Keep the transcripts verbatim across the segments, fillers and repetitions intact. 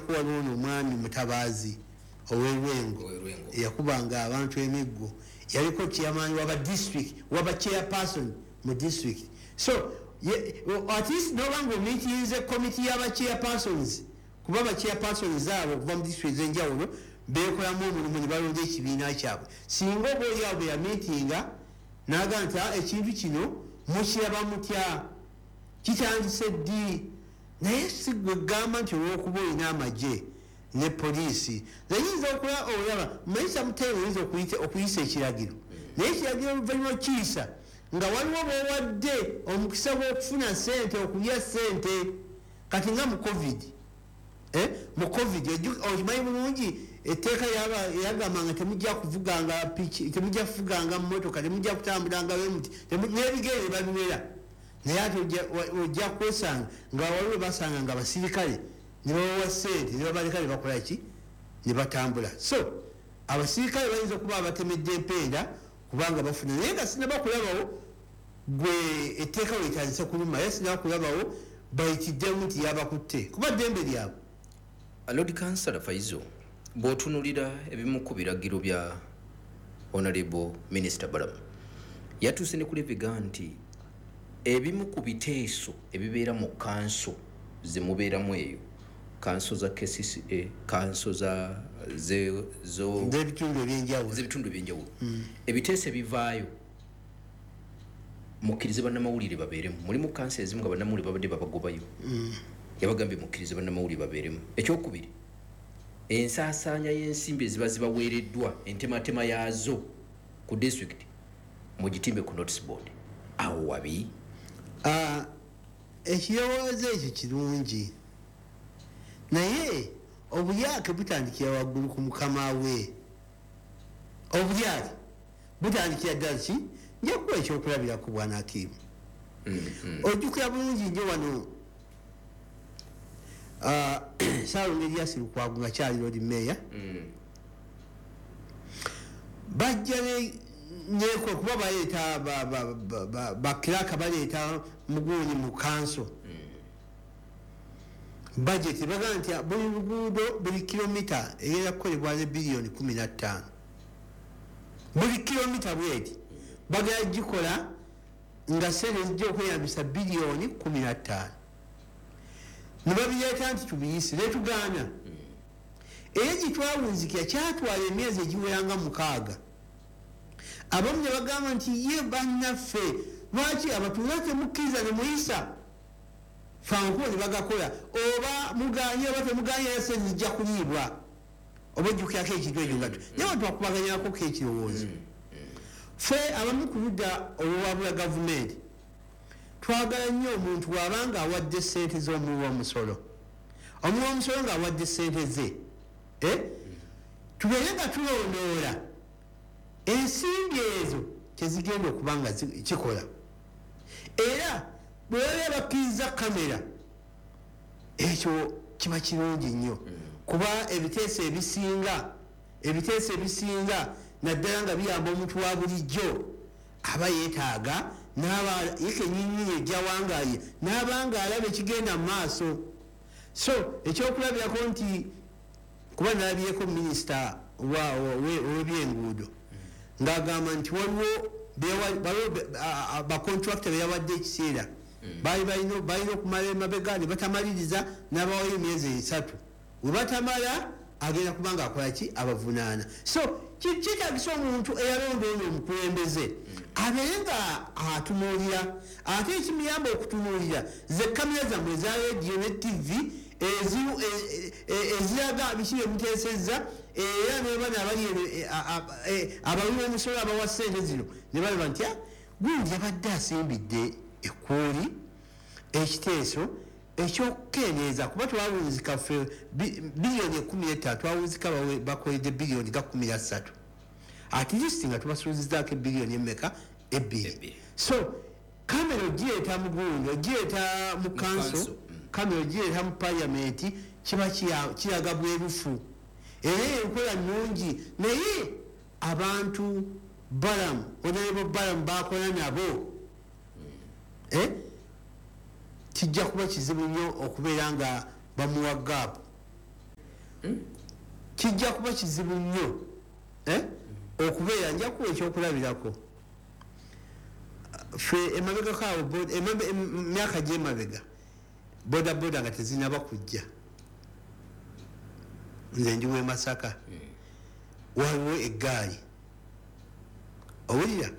Ekyokulabirako, waliwo ono omwami Mutabaazi ow'Erwengo Ow'Erwengo. eyakubanga abantu emiggo, yaliko chairman waba district, waba chairperson mu district. So ye- at least nobanga omiitirize committee y'aba chairpersons, kuba ba chairpersons abo okuva mu district ez'enjawulo bekolamu omulimu ne balonda ekibiina kyabwe. Singa oba oliawo bwe yamiitinga naga nti, "Ah, ekintu kino mukiraba mutya? Kitandise ddi?" Naye si gwe gamba nti olwokuba olina amagye ne poliisi nayinza okula olaba manyi samutayini oyinza okuyita- okuyisa ekiragiro, naye ekiragiro oluvannyuma okiyisa nga waliwo bwowadde omukisa gw'okufuna sente, okulya sente. Kati nga mu COVID, Eh, mu COVID oju- okimanyi bulungi etteeka yaba- yagamba nga temujja kuvuganga piki, temujja kuvuganga mmotoka, temujja kutambulanga bwemuti, temu- n'ebigere babiwera. Naye ate ojja- wa- ojja kwesanga nga waliwo basanga nga abasirikale ne babawa sente ne babaleka ne bakola ki, ne batambula. So abasirikale bayinza okuba abatemedde empenda kubanga bafuna, naye nga sinaba kulabawo gwe etteeka wetandise kuluma, ye sinaba kulabawo bayitiddemu nti yabakutte, kuba ddembe lyabwe. Lord Kansala Faizo, bw'otunulira ebimu ku biragiro bya Honorable Minister Balamu, yatuuse ne kuleviga nti ebimu ku biteeso ebibeera mu kanso zemubeeramu eyo, kanso za K C C A, kanso za ze- zo z'ebitundu ebyenjawulo, z'ebitundu ebyenjawulo, ebiteeso ebivaayo mukkirize bannamawulire babeeremu. Mulimu kanso ezimu nga bannamawulire babadde babagobayo, yabagambye mukkirize bannamawulire babeeremu. Ekyokubiri, ensaasaanya y'ensimbi eziba zibaweereddwa, entematema yaazo ku disitulikiti mugitimbe ku notice board. Awo wabi? Ah, ekirowoozo ekyo kirungi, naye obulyake butandikira waggulu ku mukama we. Obulyake butandikira ddala ki? Nja kuwa ekyokulabirako, bwana Akimu. Ojjukira bulungi nnyo wano ah, Saalongo Erias Lukwago nga kyali Lord Mayor, bajja ne- neko kuba baleeta bakiraka, baleeta muguuni mu kanso budget, bagamba nti buli luguudo, buli kilomita egenda kukolebwa ne biliyoni kumi na ttaano. Buli kilomita bweti bagenda gikola nga sente zijja okweyambisa biliyoni kumi na ttaano. Ne babireeta nti tubiyise, netugaana. Era gitwawunzikira kyatwala emyezi egiweranga mukaaga. Abamu ne bagamba nti, "Ye bannaffe, lwaki abatuuze temukkiriza ne muyisa fankubo ne bagakola? Oba muganye oba temuganye, era sente zijja kuliibwa." Oba ojjukirako ekintu ekyo nga naye abantu bakubaganyako ekirowoozo. Ffe abamu ku ludda olwawabula gavumenti twagala nnyo omuntu bw'abanga awadde sente z'omuwi w'omusolo, omuwi w'omusolo ng'awadde sente ze, eh? tubeere nga tulondoola ensimbi ezo kyezigenda okuba nga zi- kikola. Era bwe baba bakkiriza kamera, ekyo kiba kirungi nnyo, kuba ebiteeso ebisinga ebiteeso ebisinga naddala nga biyamba omuntu wa bulijjo, aba yeetaaga n'aba ye kenyinyini ejjawangaye n'abanga alaba ekigenda mu maaso. So ekyokulabirako nti kuba nalabyeko minisita wa- wa- we- ow'ebyenguudo ng'agamba nti waliwo bewa- waliwo be- a- a- bacontractor beyawadde ekiseera, baali balina balina okumala emabega ne batamaliriza, n'abawayo emyezi esatu, we batamala agenda kuba nga akola ki? Abavunaana. So ki- kyetagisa omuntu eyalonda ono omukulembeze abeere nga atunuulira, ate ekimuyamba okutunuulira ze kamera zammwe eza rediyo ne T V ezi- e- e- eziraga biki byemuteesezza. Era nebana abali e- a- a- e- abawi b'omusolo abawa sente zino ne balaba nti, "Ah, gundi yabadde asimbidde ekkuuli ekiteeso ekyokukendeeza," kuba twawunzika ffe bi- biliyoni ekumi etaano, twawunzika bawe- bakoledde biliyoni ga kumi na ssatu, at least nga tubasuuzizaako ebiliyoni emeka? Ebbiri. Ebbiri. So kamera ogireeta mu gundi, ogireeta mu kanso, kanso, mm. kamera ogireeta mu paliamenti, kiba kiya- kiraga bwerufu era enkola nnungi. Naye abantu Balamu, Honorable Balamu bakola nabo, eh? kijja kuba kizibu nnyo okubeera nga bamuwa gaapu. Kijja kuba kizibu nnyo okubeera. Nja kuwa ekyokulabirako. Ffe emabegako awo, emyaka gy'emabega, boda boda nga tezinaba kujja, nze ndi w'e Masaka, waliwo eggaali, owulira,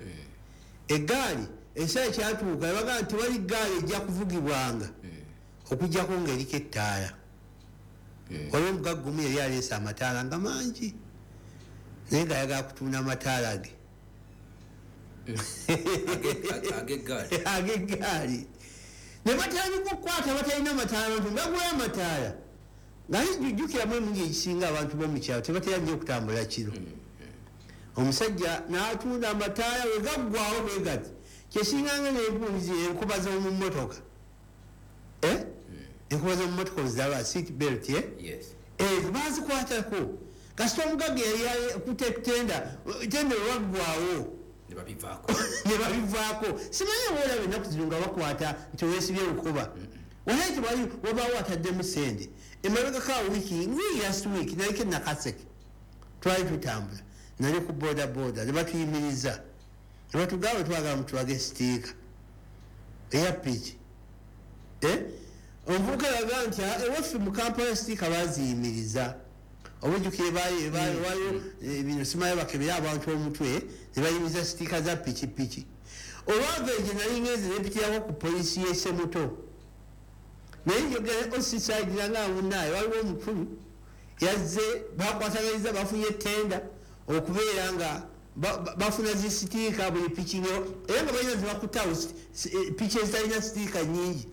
eggaali ekiseera kyatuuka ebagaa nti wali ggaali ejja kuvugibwanga okujjako ng'eriko ettaala. Waliwo omugagga omu yali aleese amataala nga mangi, naye ng'ayagala kutunda amataala ge ag'eggaali. Ne batandika okukwata batalina mataala, abantu bagulayo amataala. Nga jjukiramu emirundi egisinga abantu b'omukyalo tebatera nnyo okutambula kiro. Omusajja n'atunda amataala we gaggwawo bwe gati, kyesinganga n'enkuzi enkuba z'omu mmotoka, enkuba z'omu mmotoka oziraba, seat belt, ezo bazikwatako. Kasita omugagga yali kutenda tenda lwaggwawo ne babivaako. Simanyi oba olaba ennaku zino nga bakwata nti weesibye lukoba, walayi tewali wabaawo ataddemu ssente. Emabegako awo wiiki ngii last week naliko Nakaseke, twali tutambula, nali ku boda boda, ne batuyimiriza ne batugamba twagala mutulage sitiika eya piki. Omuvubuka yagaa nti ewaffe mu Kampala sitiika baziyimiriza, obujjukire waliwo bino simanyi bakebera abantu omutwe ne bayimiriza sitiika za pikipiki. Olwava egyo nali ngenze nempitirako ku poliisi y'e Semuto, naye njogera osisagira nga munaaye waliwo omukulu yazze bakwataganyizza, bafunye tenda okubeera nga bafuna zisitiika buli piki, era nga balina zebakutawo piki ezitalina sitiika nnyingi.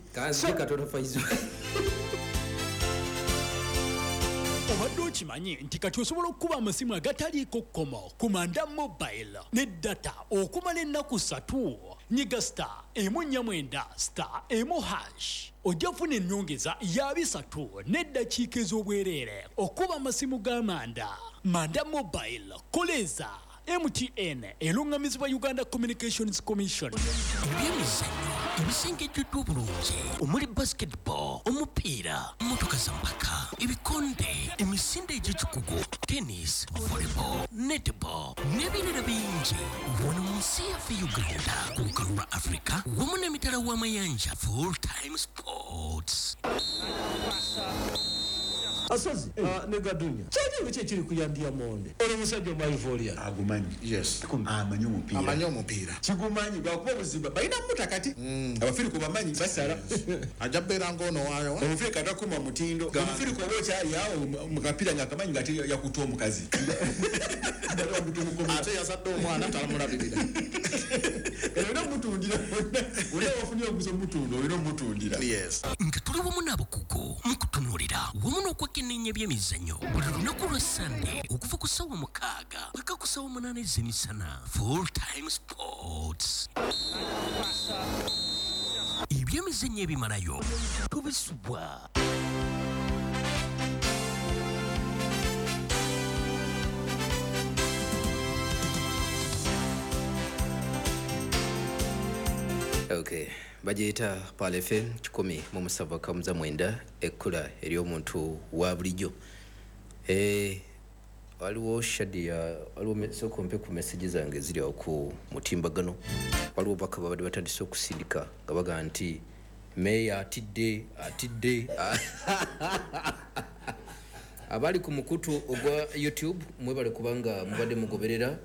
Obadde okimanyi nti kati osobola okukuba amasimu agataliiko kkomo ku Manda Mobile ne data okumala ennaku ssatu. Nyiga star emu nnya mwenda star emu hash ojja kufuna ennyongeza ya bisatu n'eddakiika ez'obwereere okuba amasimu ga Manda. Manda Mobile, koleza M T N eruŋŋamizibwa Uganda Communications Commission. Ebyemizannyo ebisengejjeddwa obulungi omuli basketball, omupiira, mmotoka za mpaka, ebikonde, emisinde egy'ekikugu, tennis, volleyball, netball n'ebirala bingi. Wano mu nsi yaffe Uganda, ku lukalu lwa Africa wamu n'emitala w'amayanja. Full time sports. Asozi ne Gadunya kyali ki ekiri kuyandiya monde ono musajja omwaivoria agumanyi. Yes, amanyi omupiira, amanyi omupiira kigumanyi lwakuba obuzibu balina muta kati abafirika bamanyi basala ajja beera ng'ono waayo omufirika takuma mutindo. Omufirika oba okyali awo mu kapiira nga akamanyi nga yakuta omukazi ate yazadde omwana talamulabirira. Olina omutundira, olina wafunye omuguzi omutunda, olina omutundira. Nga tuli wamu n'abakugu mu kutunuulira wamu n'okwekenneenya ebyemizannyo buli lunaku lwa Sande okuva ku ssaawa mukaaga paka ku ssaawa munaana ez'emisana. Full time sports, ebyemizannyo ebimalayo tubisubwa. Okay, bagiyita Pearl F M kikumi mu musanvu kamuza mwenda, ekkula ery'omuntu wa bulijjo. Eh, waliwo Shadia, waliwo sooka ompe ku message zange eziri awo ku mutimbagano. Waliwo baka babadde batandise okusindika nga bagamba nti meeya atidde, atidde. Abali ku mukutu ogwa YouTube mwebale kubanga mubadde mugoberera.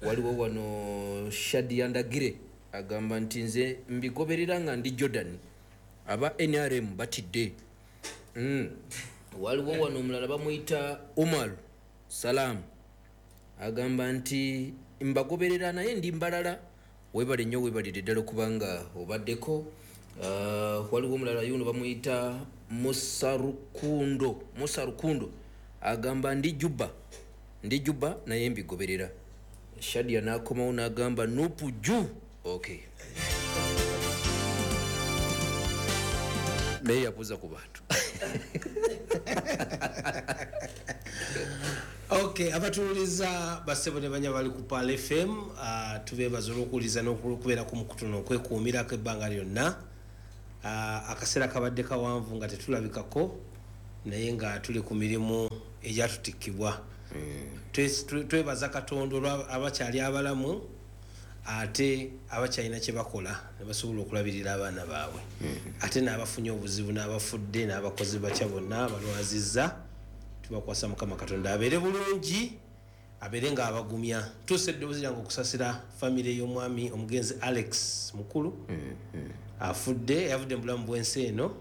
Waliwo wano Shadia Ndagire agamba nti nze mbigoberera nga ndi Jordan, aba N R M batidde. Mm. Waliwo wano omulala bamuyita Umar Salam agamba nti mbagoberera naye ndi mbalala. Webale nnyo, webalire ddala okubanga obaddeko. Uh, waliwo omulala yuno bamuyita Musa Rukundo, Musa Rukundo agamba ndi Juba, ndi Juba naye mbigoberera. Shadia n'akomawo n'agamba nupu ju. Okay. Meya yabuuza ku bantu. Okay, abatuwuliza bassebo ne banya bali ku Pearl F M, uh, tubeebaza olw'okuwuliza n'okubeera ku mukutu n'okwekuumirako ebbanga lyonna. Uh, akaseera kabadde kawanvu nga tetulabikako, Naye nga tuli ku mirimu egyatutikibwa. Mm. Twebaza Katonda abakyali abalamu ate abakyalina kye bakola ne basobola okulabirira abaana baabwe. Mm. Ate n'abafunye obuzibu n'abafudde n'abakozi batya bonna balwazizza, tubakwasa Mukama Katonda abeere bulungi, abeere nga abagumya. Tuuse eddoboozi lyange okusasira famire y'omwami omugenzi Alex Mukulu. Mm. Mm. Afudde, yavudde mu bulamu bw'ensi eno,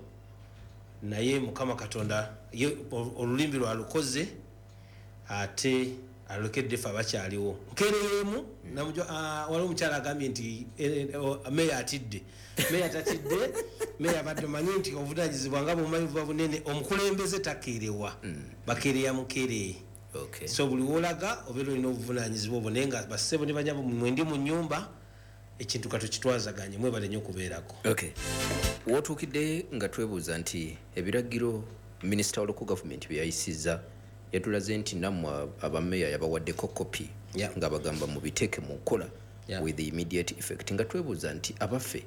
naye Mukama Katonda olulimi lwalukoze ate alokedde ffe abakyaliwo. Nkeereyemu waliwo omukyala agambye nti meeya atidde. Meeya tatidde, meeya abadde omanyi nti obuvunaanyizibwa nga bw'omanyi buba bunene, omukulembeze takeerewa, bakeereya mukeereye. So buli w'olaga obeera olina obuvunaanyizibwa obwo, naye nga bassebo ne banyabo mwendi mu nnyumba ekintu katukitwazaganye, mwebale nnyo okubeerako. Okay. Wootuukidde nga twebuuza nti ebiragiro minisita wa local government bye yayisizza yatulaze nti nammwe abameeya yabawaddeko kopi nga bagamba mubiteeke mu nkola with the immediate effect, nga twebuuza nti abaffe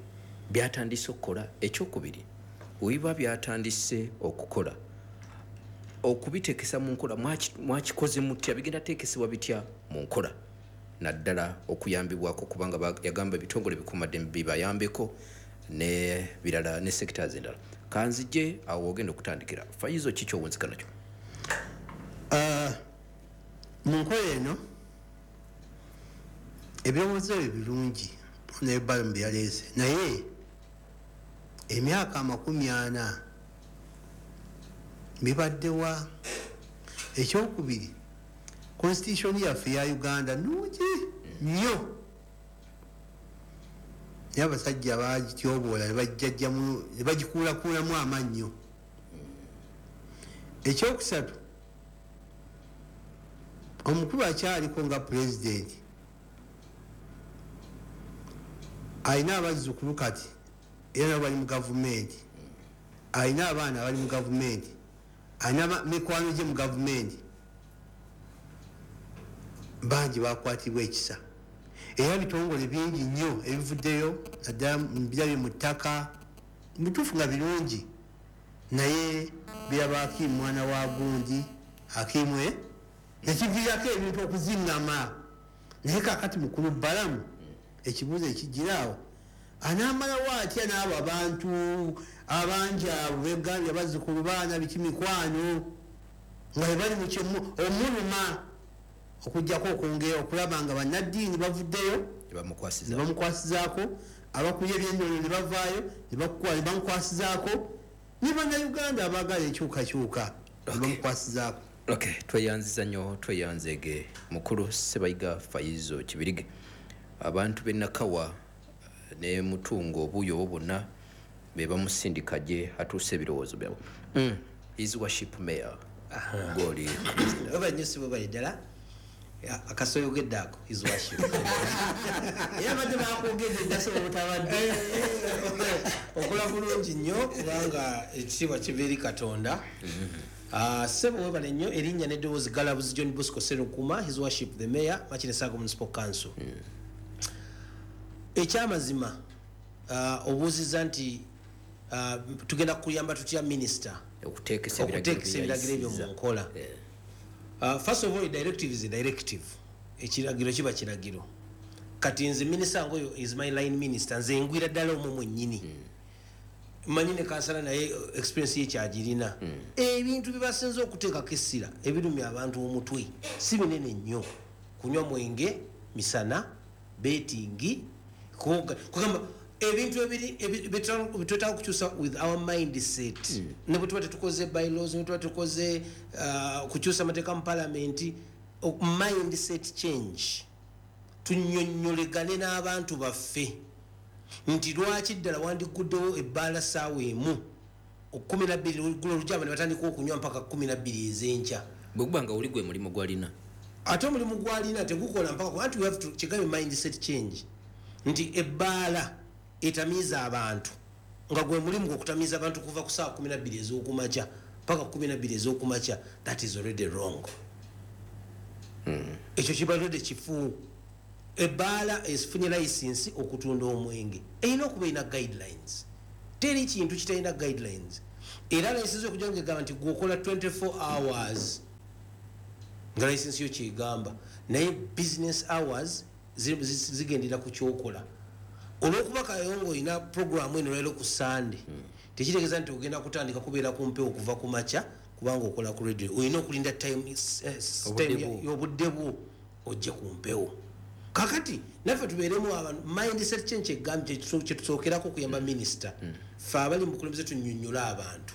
byatandise okukola. Ekyokubiri, webiba byatandise okukola, okubiteekesa mu nkola mwakikoze mutya, bigenda teekesebwa bitya mu nkola, naddala okuyambibwako kubanga yagamba ebitongole bikuumaddembe bibayambeko ne birala ne sectors endala. Kanzije awo ogenda okutandikira Faizo, ki ky'owunzika nakyo? Mu nkola eno ebirowoozo ebyo birungi nebbalumu byaleese, naye emyaka amakumi ana bibaddewa. Ekyokubiri, constitution yaffe ya Uganda nnungi nnyo, naye abasajja bagityoboola ne bajjajjamu ne bagikuulakuulamu amannyo. Ekyokusatu, omukulu akyaliko nga pulezidenti alina abazzukulu kati era nabo bali mu gavumenti, alina abaana abali mu gavumenti, alina mikwano gye mu gavumenti, bangi bakwatibwa ekisa. Era bitongole bingi nnyo ebivuddeyo naddala birabye mu ttaka, bituufu nga birungi, naye biraba Hakimu mwana wa gundi Hakimu nekiviirako ebintu okuziŋŋama. Naye kaakati mukulu Balamu ekibuuzo ekigiraawo, anaamalawo atya n'abo abantu abangi abo begambye bazzukulu baana biki mikwano nga bwe bali mu kyemu omuluma, okuggyako okwongera okulaba nga bannaddiini bavuddeyo ne bamukwasizaako, abakulya ebyennono ne bavaayo ne bamukwasizaako, ne bannayuganda abaagala enkyukakyuka ne bamukwasizaako. Okay, tweyanziza nnyo, tweyanzeege mukulu Ssebayiga Faizo Kibirige. Abantu b'e Nakawa ne Mutungo obuuyi obwo bonna be bamusindika gye atuuse ebirowoozo byabwe. Mm. His worship mayor goli oba nnyo si bwe ddala akasoyogedde ako his worship era badde bakwogedde dda so obutabadde okola bulungi nnyo kubanga ekitiibwa kiva eri Katonda. Ssebo webale nnyo. Erinnya n'eddoboozi Galabuzi John Bosco Sserukuma, his worship the mayor Makindye Ssaabagabo Municipal Council. Ekyamazima obuuzizza nti tugenda kuyamba tutya minisita okuteekesa ebiragiro ebyo mu nkola. First of all, a directive is a directive. Ekiragiro kiba kiragiro. Kati nze minisita ngoyo is my line minister, nze ngwira ddala omwo mwennyini. Mmanyi ne kansala naye experience ye kyagirina. Ebintu bibasinze okuteekako essira ebirumya abantu omutwe si binene nnyo. Kunywa mwenge, misana, betting, kugamba ebintu ebiri bitwetaaga okukyusa with our mindset. Ne bwe tuba tetukoze bylaws, ne tuba tukoze kukyusa amateeka mu palamenti, mindset change. Tunnyonnyolegane n'abantu baffe nti lwaki ddala wandiguddewo ebbaala ssaawa emu kkumi na bbiri oluggulo olujja ne batandika okunywa mpaka kkumi na bbiri ez'enkya. Bwe guba nga oli gwe mulimu gw'alina, ate omulimu gw'alina tegukola mpaka anti we have to kigambe mindset change nti ebbaala etamiiza abantu nga gwe mulimu gw'okutamiiza abantu kuva ku ssaawa kkumi na bbiri ez'okumakya mpaka kkumi na bbiri ez'okumakya, that is already wrong. Ekyo kiba already kifu. Ebbaala efunye license okutunda omwenge erina okuba erina guidelines. Teri kintu kitalina guidelines. Era license okujja ng'egamba nti gwokola twenty-four hours, nga license yo kyegamba, naye business hours zigendera ku kyokola. Olwokuba Kayongo olina programu eno leero ku Sunday, tekitegeeza nti ogenda kutandika kubeera ku mpewo okuva ku makya kubanga okola ku radio. Olina okulinda time y'obudde bwo ojje ku mpewo. Kakati naffe tubeeremu abantu mindset change egambye kyetusookerako okuyamba minisita. Ffe abali mu bukulembeze tunnyonnyola abantu,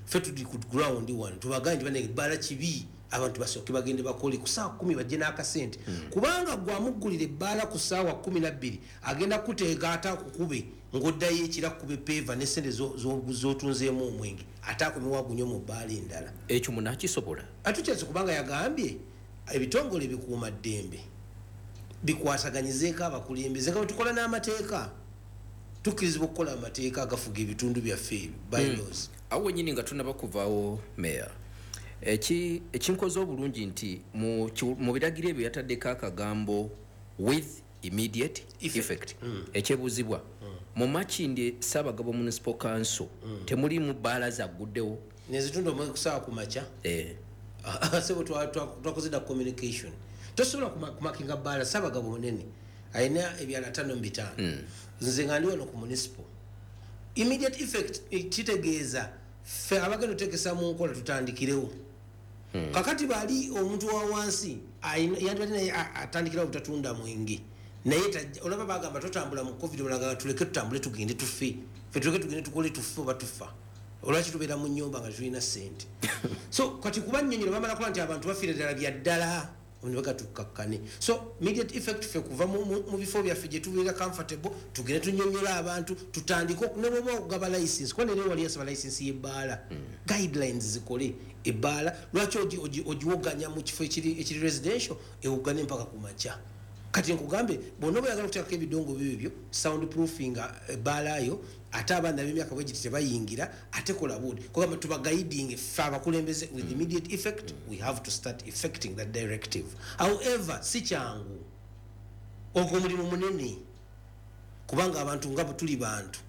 ffe tuli ku ground wano tubagambe nti bannange ebbaala kibi, abantu basooke bagende bakole ku ssaawa kkumi bajje n'akasente. Kubanga gwe amuggulira ebbaala ku ssaawa kkumi na bbiri agenda kuteega ate akukube ng'oddayo ekiro akukube peeva n'essente z'otunzeemu omwenge ate akomewo agunywe mu bbaala endala. Ekyo munaakisobola? Atukyase kubanga yagambye ebitongole bikuuma ddembe bikwataganyizeeko abakulembeze nga bwe tukola n'amateeka, tukkirizibwa okukola amateeka agafuga ebitundu byaffe ebyo bylaws. Awo wennyini nga tunnaba kuvaawo meya, ekinkoze obulungi nti mu biragiro ebyo yataddeko akagambo with immediate effect. Ekyebuuzibwa, mu Makindye Ssaabagabo Municipal Council temulimu bbaala zagguddewo? Nezitunda omwenge ku ssaawa ku makya? Sebo twakoze dda communication. Tosobola kumakinga bbaala. Ssaabagabo munene alina ebyalo ataano mu bitaano, nze nga ndi wano ku municipal. Immediate effect kitegeeza ffe abagenda oteekesa mu nkola tutandikirewo. Kakati bali omuntu wa wansi yandibadde naye atandikirawo obutatunda mwenge, naye olaba bagamba totambula mu covid, olaga tuleke tutambule tugende tufe, ffe tuleke tugende tukole tufe oba tufa. Olwaki tubeera mu nnyumba nga tetulina ssente? So kati kuba nnyonnyola bamala kuba nti abantu bafiire ddala bya ddala tukakkane. So immediate effect ffe kuva mu bifo byaffe gye tubeera comfortable tugende tunnyonnyola abantu tutandike ne bw'oba okugaba license, kuba nere wali yasaba license y'ebbaala, guidelines zikole ebbaala lwaki ogiwoganya mu kifo ekiri residential ewogane mpaka ku makya. Kati nkugambe bw'onoba oyagala okuteekako ebidongo bibyo sound proofing ebbaala yo, ate abaana b'emyaka bwe giti tebayingira, ate kola buudi kugamba tuba guiding ffe abakulembeze with immediate effect. We have to start effecting that directive. However, si kyangu, ogwo omulimu munene kubanga abantu nga tuli bantu,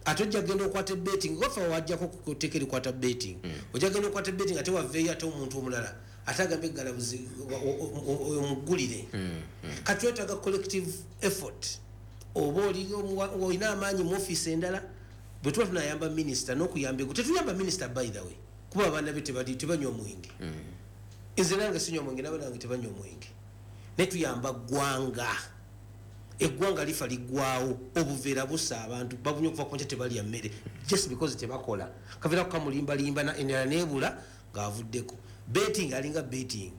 ate ojja kugenda okwata betting ofa wajjako kuteeka erikwata betting, ojja kugenda okwata betting ate waveeyo ate omuntu omulala ate agambe eggalabuzi omuggulire. Kati twetaaga collective effort. Oba olina amaanyi mu ofiisi endala, bwe tuba tunayamba minisita n'okuyamba ego tetuyamba minisita by the way, kuba abaana be tebanywa omwenge. Nze nange sinywa omwenge, n'abaana bange tebanywa omwenge, naye tuyamba ggwanga. Eggwanga lifa liggwawo, obuveera bussa abantu babunywa okuva ku nkya tebalya mmere just because tebakola. Kaveera kukamulimbalimba endala neebula ng'avuddeko. Betting alinga betting,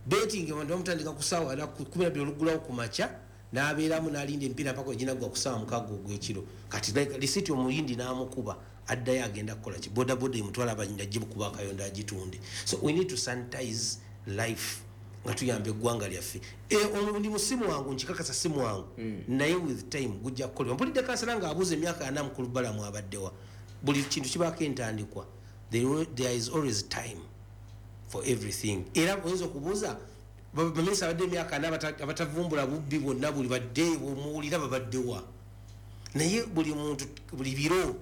betting abantu bamutandika ku ssaawa kumi na bbiri oluggulawo ku makya n'abeeramu n'alinda emipiira mpaka weginagwa ku ssaawa mukaaga ogw'ekiro. Kati lisiti omuyindi n'amukuba addayo agenda kukola ki? Bodaboda emutwala abanyinja agikuba akayonda agitunde. So we need to sanitize life nga tuyamba eggwanga lyaffe. Omulimu si mwangu, nkikakasa si mwangu, naye with time gujja kukolebwa. Mpulidde kansala ng'abuuza emyaka ana mukulu Balamu abaddewa. Buli kintu kibaako entandikwa. There is always time for everything. Era oyinza okubuuza baminisita abadde emyaka ana abatavumbula bubbi bwonna buli badde omuwulira babaddewa, naye buli muntu buli biro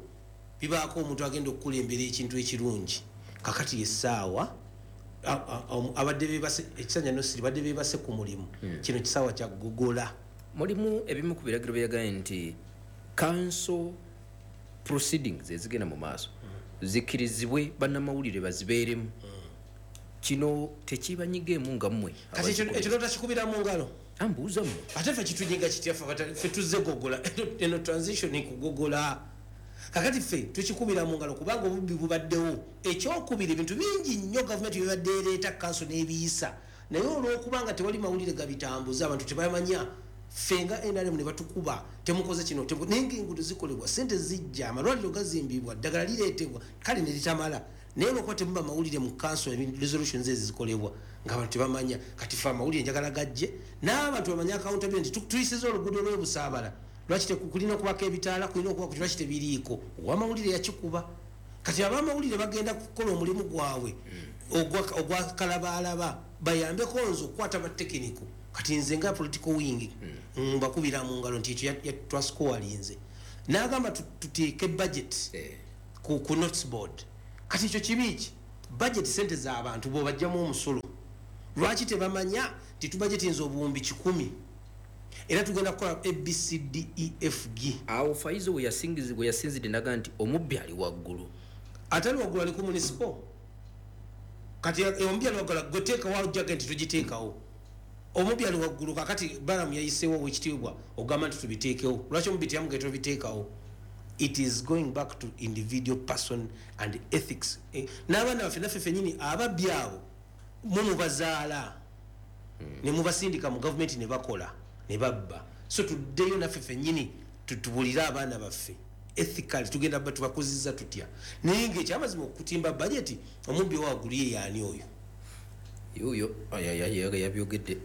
bibaako omuntu agenda okukulembera ekintu ekirungi. Kakati essaawa abadde beebase ekisanja nosiri badde beebase ku mulimu, kino kisaawa kya gogola. Mulimu ebimu ku biragiro byeyagaye nti council proceedings ezigenda mu maaso zikkirizibwe bannamawulire bazibeeremu. Kino tekibanyigeemu nga mmwe? Kati ekyo notakikubira mu ngalo? Ambuuza mmwe. Ate ffe kitunyiga kitya? Ffe tuzze gogola eno transition kugogola. Kakati ffe tukikubira mu ngalo kubanga obubbi bubaddewo. Ekyokubiri ebintu bingi nnyo gavumenti byebadde ereeta kanso n'ebiyisa, naye olw'okubanga tewali mawulire gabitambuza abantu tebamanya, ffe nga N R M ne batukuba temukoze kino, naye ng'enguudo zikolebwa, ssente zijja, amalwaliro gazimbibwa, ddagala lireetebwa, kale ne litamala. Naye olwokuba temuba mawulire mu kanso resolutions ezi zikolebwa ng'abantu tebamanya. Kati ffe amawulire njagala gajje n'abantu bamanye accountability. Tuyisiza oluguudo lw'ebusaabala, lwaki kulina okubako ebitaala, kulina okubako lwaki tebiriiko? Owamawulire yakikuba. Kati abamawulire bagenda kukola omulimu gwabwe ogwa kalabaalaba, bayambeko nze okukwata batekiniko. Kati nze nga political wing mbakubira mu ngalo nti ekyo twasikowalinze. N'agamba tuteeke budget ku notes board. Kati ekyo kibi ki? Budget sente z'abantu bwobajjamu omusolo, lwaki tebamanya nti tubajetinza obuwumbi kikumi era tugenda kukola A B C D E F G? Awo Faizo we yasingizi- we yasinzidde naga nti omubbi ali waggulu. Atali waggulu ali ku municipal. Kati omubbi ali waggulu, gwe teekawo ojjaga nti tugiteekawo. Omubbi ali waggulu. Kakati Balamu yayiseewo owekitiibwa ogamba nti tubiteekewo, lwaki omubbi teyamugaye tobiteekawo? It is going back to individual person and ethics. Eh, n'abaana baffe naffe fenyini ababbi abo mumubazaala ne mubasindika mu gavumenti ne bakola ne babba. So tuddeyo naffe fenyini tutubulire abaana baffe ethically tugenda ba tubakuziza tutya. Naye ngaekyamazima okutimba budget, omubbi owaggulu ye yaani oyo? Yoyo yabyogedde.